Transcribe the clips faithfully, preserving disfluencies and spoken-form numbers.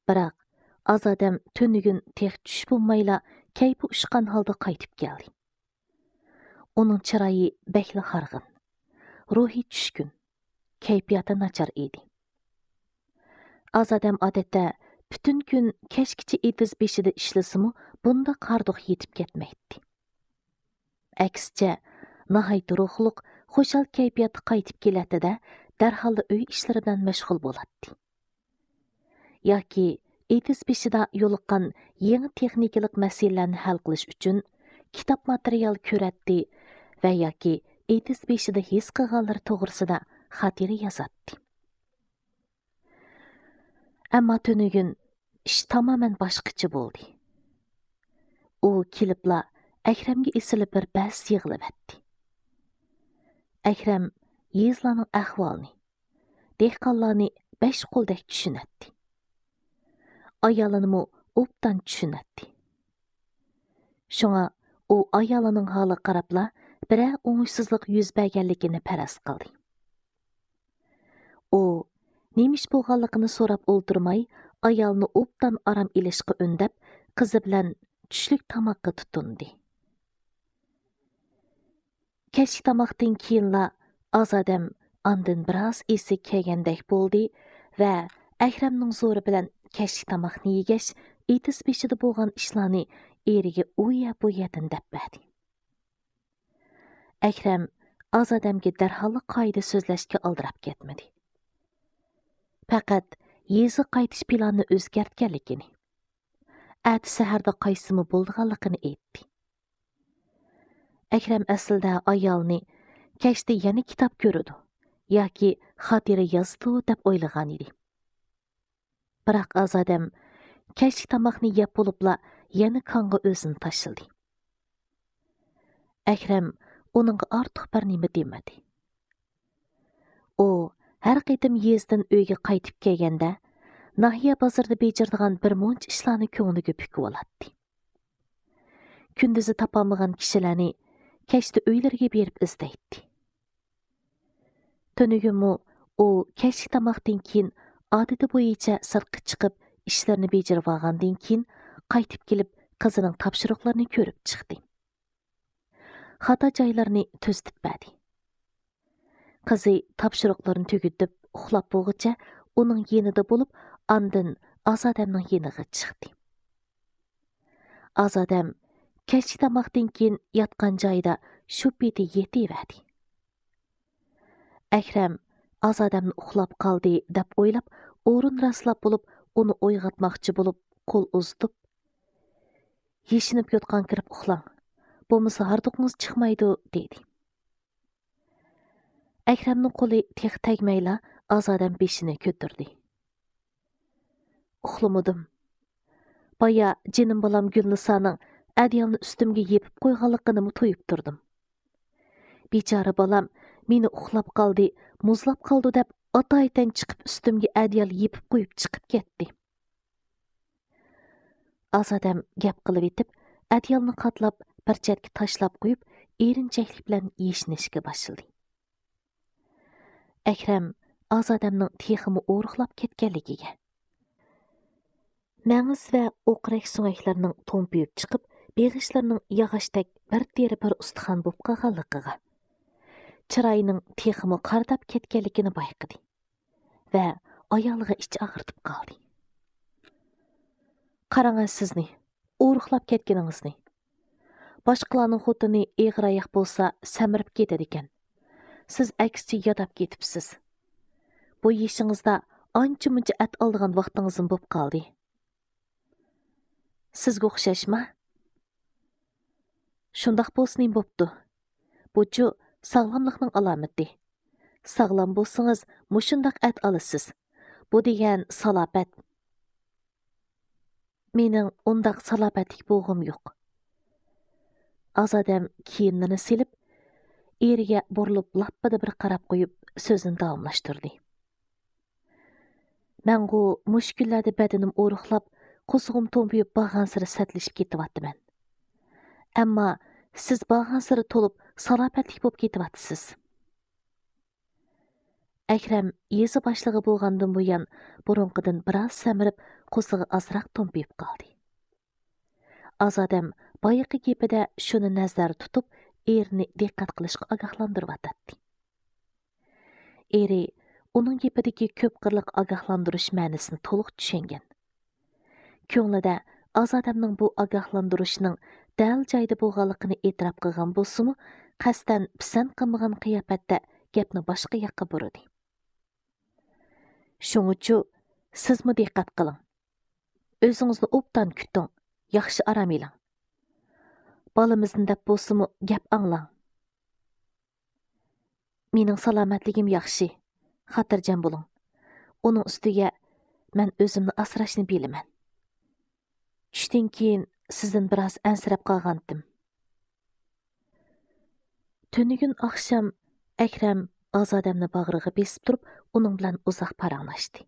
بىراق ئازادەم تۈنۈگۈن تېخى چۈش بولمايلا كەيپى ئۇچقان ھالدا قايتىپ كەلدى. ئۇنىڭ چىرايى بەكلا ھارغىن، روھى چۈشكۈن، كەيپىياتى ناچار ئىدى. ئازادەم ئادەتتە پۈتۈن كۈن كەچكىچە ئېتىز بېشىدا ئىشلىسىمۇ، بۇنداق ھاردۇق يېتىپ كەتمەيتتى. ئەكسىچە، ناھايىتى روھلۇق، خۇشال كەيپىياتتا قايتىپ كېلەتتى-دە، دەرھاللا ئۆي ئىشلىرى بىلەن مەشغۇل بولاتتى. ياكى ئېتىز بېشىدا يولۇققان يېڭى تېخنىكىلىق مەسىلىلەرنى ھەل قىلىش ئۈچۈن كىتاب ماتېرىيال كۆرەتتى ۋە ياكى ئېتىز بېشىدا ھېس قىلغانلىرى توغرىسىدا خاتىرە يازاتتى. ئەمما تۈنۈگۈن ئىش تامامەن باشقىچە بولدى. ئۇ كېلىپلا ئەكرەمگە ئېسىلىپ بىر بەس يىغلىۋەتتى. ئەكرەم يېزىلارنىڭ ئەھۋالىنى، دېھقانلارنى بەش قولدەك چۈشىنەتتى. ئايالىنىمۇ ئوبدان چۈشىنەتتى. شۇڭا ئۇ ئايالىنىڭ ھالىغا قاراپلا بىرەر ئوڭۇشسىزلىق يۈز بەرگەنلىكىنى پەرەز قىلدى. ئۇ نېمە ئىش بولغانلىقىنى سوراپ ئولتۇرماي، ئايالىنى ئوبدان ئارام ئېلىشقا ئۈندەپ، قىزى بىلەن چۈشلۈك تاماققا تۇتۇندى. كەچلىك تاماقتىن كېيىنلا ئازادەم ئاندىن بىراز ئېسىگە كەلگەندەك بولدى ۋە ئەكرەمنىڭ زورى بىلەن كەچلىك تاماقنى يېگەچ، ئېتىز بېشىدا بولغان ئىشلارنى ئېرىگە ئۇ يەر بۇ يەردىن دەپ بەردى. ئەكرەم ئازادەمگە دەرھاللا قائىدە سۆزلەشكە ئالدىراپ كەتمىدى. پەقەت يېزىغا قايتىش پىلانىنى ئۆزگەرتكەنلىكىنى، ئەتە سەھەردە قايتسىمۇ بولىدىغانلىقىنى ئېيتتى. ئەكرەم ئەسلىدە ئايالىنى كەچتە يەنە كىتاب كۆرىدۇ ياكى خاتىرە يازىدۇ دەپ ئويلىغان ئىدى. بىراق ئازادەم كەچلىك تاماقنى يەپ بولۇپلا يەنە كاڭغا ئۆزىنى تاشلىدى. ئەكرەم ئۇنىڭغا ئارتۇق بىر نېمە دېمىدى. ئۇ ھەر قېتىم يېزىدىن ئۆيگە قايتىپ كەلگەندە، ناھىيە بازىرىدا بېجىرىدىغان بىر مۇنچە ئىشلارنى كۆڭلىگە پۈكۈۋالاتتى. كۈندۈزى تاپالمىغان كىشىلەرنى كەچتە ئۆيلىرىگە بېرىپ ئىزدەيتتى. تۈنۈگۈنمۇ ئۇ كەچلىك تاماقتىن كېيىن ئادىتى بويىچە سىرتقا چىقىپ، ئىشلىرىنى بېجىرىۋالغاندىن كېيىن، قايتىپ كېلىپ، قىزىنىڭ تاپشۇرۇقلىرىنى كۆرۈپ چىقتى. خاتا جايلىرىنى تۈزىتىپ بەردى. قىزى تاپشۇرۇقلىرىنى تۈگىتىپ ئۇخلاپ بولغۇچە ئۇنىڭ يېنىدا بولۇپ، ئاندىن ئازادەمنىڭ يېنىغا چىقتى. ئازادەم كەچلىك تاماقتىن كېيىن ياتقان جايىدا شۇ پېتى يېتىۋەردى. ئەكرەم ئازادەمنى ئۇخلاپ قالدى دەپ ئويلاپ، ئورۇن راسلاپ بولۇپ، ئۇنى ئويغاتماقچى بولۇپ، قول ئۇزىتىپ، «يېشىنىپ يوتقان كىرىپ ئۇخلاڭ، بولمىسا ھاردۇقىڭىز چىقمايدۇ» دېدى. ئەكرەمنىڭ قولى تېخى تەگمەيلا ئازادەم بېشىنى كۆتۈردى. ئۇخلىمىدىم. بايا جېنىم بالام گۈلنىسانىڭ ئەدىيالنى ئۈستۈمگە يېپىپ قويغانلىقىنىمۇ تۇيۇپ تۇردۇم. بىچارە بالام مېنى ئۇخلاپ قالدى، مۇزلاپ قالىدۇ دەپ ئاتايىتەن چىقىپ ئۈستۈمگە ئەدىيال يېپىپ قويۇپ چىقىپ كەتتى. ئازادەم گەپ قىلىۋېتىپ، ئەدىيالنى قاتلاپ بىر چەتكە تاشلاپ قويۇپ، ئېرىنچەكلىك بىلەن يېشىنىشكە باشلىدى. ئەكرەم ئازادەمنىڭ تېخىمۇ ئورۇقلاپ كەتكەنلىكىگە، مەڭز ۋە ئوقرەك سۆڭەكلىرىنىڭ تومپىيىپ چىقىپ، بېغىشلىرىنىڭ ياغاچتەك بىر تېرە بىر ئۇستىخان بولۇپ قالغانلىقىغا، چىرايىنىڭ تېخىمۇ قارىداپ كەتكەنلىكىنى بايقىدى ۋە ئايالىغا ئىچ ئاغرىتىپ قالدى. قاراڭە سىزنى، ئورۇقلاپ كەتكىنىڭىزنى. باشقىلارنىڭ خوتۇنى ئېغىر ئاياق بولسا سەمرىپ كېتىدىكەن. سىز ئەكسىچە ياداپ كېتىپسىز. بۇ يېشىڭىزدا ئانچە-مۇنچە ئەت ئالىدىغان ۋاقتىڭىزمۇ بوپ قالدى. سىزگە ئوخشاشما؟ شۇنداق بولسا نېمە بوپتۇ؟ بۇچۇ ساغلاملىقنىڭ ئالامىتى. ساغلام بولسىڭىز، مۇشۇنداق ئەت ئالىسىز. بۇ دېگەن سالاپەت. مېنىڭ ئۇنداق سالاپەتلىك بولغۇم يوق. ئازادەم كىيىملىرىنى سېلىپ، ئېرىگە بۇرۇلۇپ لاپپىدە بىر قاراپ قويۇپ، سۆزىنى داۋاملاشتۇردى. مەنغۇ مۇشۇ كۈنلەردە بەدىنىم ئورۇقلاپ، قورسىقىم تومپىيىپ بارغانسېرى سەتلىشىپ كېتىۋاتىمەن. ئەمما سىز بارغانسېرى تولۇپ، سالاپەتلىك بولۇپ كېتىۋاتىسىز. ئەكرەم يېزا باشلىقى بولغاندىن بۇيان بۇرۇنقىدىن بىراز سەمرىپ، قورسىقى ئازراق تومپىيىپ قالدى. ئازادەم بايىقى گېپىدە شۇنى نەزەردە تۇتۇپ، ئېرىنى دىققەت قىلىشقا ئاگاھلاندۇرۇۋاتاتتى. ئېرى ئۇنىڭ گېپىدىكى كۆپ قىرلىق ئاگاھلاندۇرۇش مەنىسىنى تولۇق چۈشەنگەن. كۆڭلىدە ئازادەمنىڭ بۇ ئاگاھلاندۇرۇشىنىڭ دەل جايىدا بولغانلىقىنى ئېتىراپ قىلغان بولسىمۇ، قەستەن پىسەنت قىلمىغان قىياپەتتە گەپنى باشقا ياققا بۇرىدى. شۇڭىچۇ، سىزمۇ دىققەت قىلىڭ. ئۆزىڭىزنى ئوبدان كۈتۈڭ، ياخشى ئارام ئېلىڭ. بالىمىزنى دەپ بولسىمۇ گەپ ئاڭلاڭ. مېنىڭ سالامەتلىكىم ياخشى، خاتىرجەم بولۇڭ. ئۇنىڭ ئۈستىگە مەن ئۆزۈمنى ئاسراشنى بىلىمەن. چۈشتىن كېيىن سىزدىن بىراز ئەنسىرەپ قالغانتىم. تۈنۈگۈن ئاخشام ئەكرەم ئازادەمنى باغرىغا بېسىپ تۇرۇپ، ئۇنىڭ بىلەن ئۇزاق پاراڭلاشتى.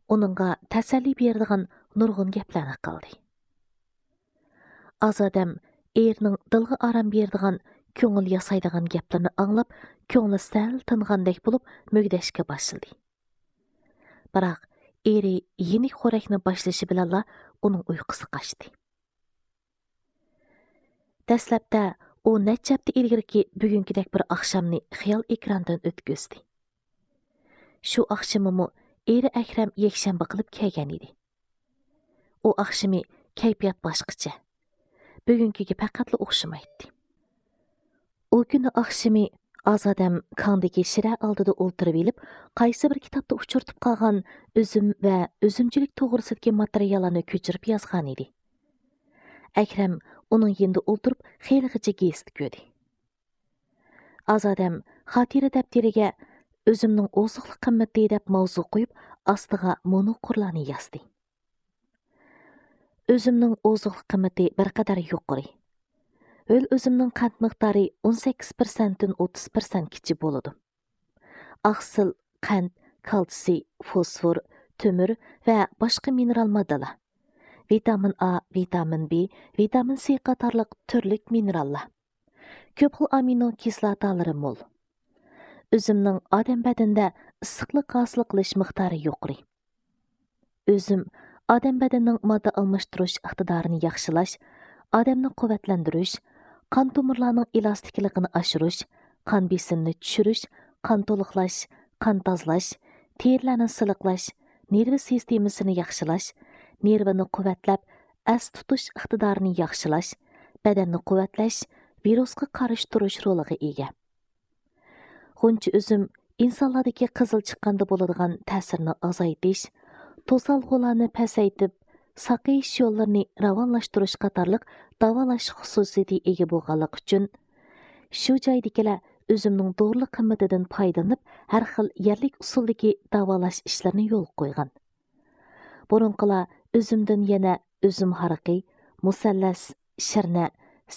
ئۇنىڭغا تەسەللى بېرىدىغان نۇرغۇن گەپلەرنى قىلدى. ئازادەم ئېرىنىڭ دىلغا ئارام بېرىدىغان، كۆڭۈل ياسايدىغان گەپلىرىنى ئاڭلاپ، كۆڭلى سەل تىنغاندەك بولۇپ، مۈگدەشكە باشلىدى. بىراق، ئېرى يېنىك خورەكنى باشلىشى بىلەنلا ئۇنىڭ ئۇيقۇسى قاچتى. دەسلەپتە ئۇ نەچچە ھەپتە ئىلگىرىكى بۈگۈنكىدەك بىر ئاخشامنى خىيال ئېكراندىن ئۆتكۈزدى. شۇ ئاخشىمىمۇ ئېرى ئەكرەم يەكشەنبە قىلىپ كەلگەن ئىدى. ئۇ ئاخشىمى كەيپىيات باشقىچە. بۈگۈنكىگە پەقەتلا ئوخشىمايتتى. ئۇ كۈنى ئاخشىمى ئازادەم كاڭدىكى شىرە ئالدىدا ئولتۇرۇۋېلىپ، قايسى بىر كىتابتا ئۇچرىتىپ قالغان ئۈزۈم ۋە ئۈزۈمچىلىك توغرىسىدىكى ماتېرىياللارنى كۆچۈرۈپ يازغانىدى. ئەكرەم ئۇنىڭ يېنىدا ئولتۇرۇپ خېلىغىچە گېزىت كۆردى. ئازادەم خاتىرە دەپتىرىگە «ئۈزۈمنىڭ ئوزۇقلۇق قىممىتى» دەپ ماۋزۇ قويۇپ، ئاستىغا مۇنۇ قۇرلارنى يازدى. ئۈزۈمنىڭ ئوزۇقلۇق قىممىتى بىر قەدەر يۇقىرى. ھۆل ئۈزۈمنىڭ قەنت مىقدارى ئون سەككىز پىرسەنتتىن ئوتتۇز پىرسەنتكىچە بولىدۇ. ئاقسىل، قەنت، كالتسىي، فوسفور، تۆمۈر ۋە باشقا مىنېرال ماددىلار، ۋىتامىن ئا، ۋىتامىن بى، ۋىتامىن سى قاتارلىق تۈرلۈك مىنېراللار، كۆپ خىل ئامىنو كىسلاتالىرى مول. ئۈزۈمنىڭ ئادەم بەدىنىدە ئىسسىقلىق ھاسىل قىلىش مىقدارى يۇقىرى. ئۈزۈم ئادەم بەدىنىنىڭ ماددا ئالماشتۇرۇش ئىقتىدارىنى ياخشىلاش، ئادەمنى قۇۋۋەتلەندۈرۈش، قان تومۇرلارنىڭ ئېلاستىكلىقىنى ئاشۇرۇش، قان بېسىمىنى چۈشۈرۈش، قان تولۇقلاش، قان تازىلاش، تېرىلەرنى سىلىقلاش، نېرۋا سىستېمىسىنى ياخشىلاش، نېرۋىنى قۇۋۋەتلەپ، ئەس تۇتۇش ئىقتىدارىنى ياخشىلاش، بەدەننى قۇۋۋەتلەش، ۋىرۇسقا قارشى تۇرۇش رولىغا ئىگە. غۇنچە ئۈزۈم ئىنسانلاردىكى قىزىل چىققاندا بولىدىغان تەسىرنى ئازايتىش، توسالغۇلارنى پەسەيتىپ، ساقىيىش يوللىرىنى راۋانلاشتۇرۇش قاتارلىق داۋالاش خۇسۇسىيىتىگە ئىگە بولغانلىقى ئۈچۈن، شۇ جايدىكىلەر ئۈزۈمنىڭ دورىلىق قىممىتىدىن پايدىلىنىپ، ھەر خىل يەرلىك ئۇسۇلدىكى داۋالاش ئىشلىرىنى يولغا قويغان. بۇرۇنقىلار ئۈزۈمدىن يەنە ئۈزۈم ھارىقى، مۇسەللەس، شىرنە،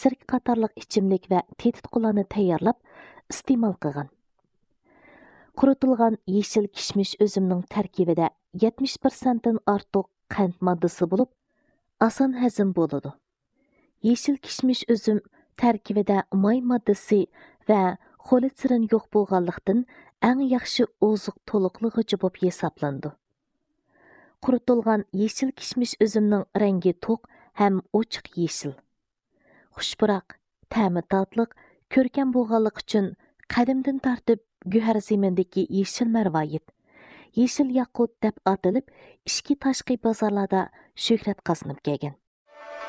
سىركە قاتارلىق ئىچىملىك ۋە تېتىتقۇلارنى تەييارلاپ ئىستېمال قىلغان. قۇرۇتۇلغان يېشىل كىشمىش ئۈزۈمنىڭ تەركىبىدە يەتمىش پىرسەنتتىن ئارتۇق قەنت ماددىسى بولۇپ، ئاسان ھەزىم بولىدۇ. يېشىل كىشمىش ئۈزۈم تەركىبىدە ماي ماددىسى ۋە خولېستېرىن يوق بولغانلىقتىن، ئەڭ ياخشى ئوزۇق تولۇقلىغۇچى بولۇپ ھېسابلىنىدۇ. قۇرۇتۇلغان يېشىل كىشمىش ئۈزۈمنىڭ رەڭگى توق ھەم ئوچۇق يېشىل. خۇش پۇراق، تەمى تاتلىق، كۆركەم بولغانلىقى ئۈچۈن قەدىمدىن تارتىپ گۆھەر زېمىنىدىكى يېشىل مەرۋايىت، يېشىل ياقۇت دەپ ئاتىلىپ، ئىچكى تاشقى بازارلاردا شۆھرەت قازىنىپ كەلگەن.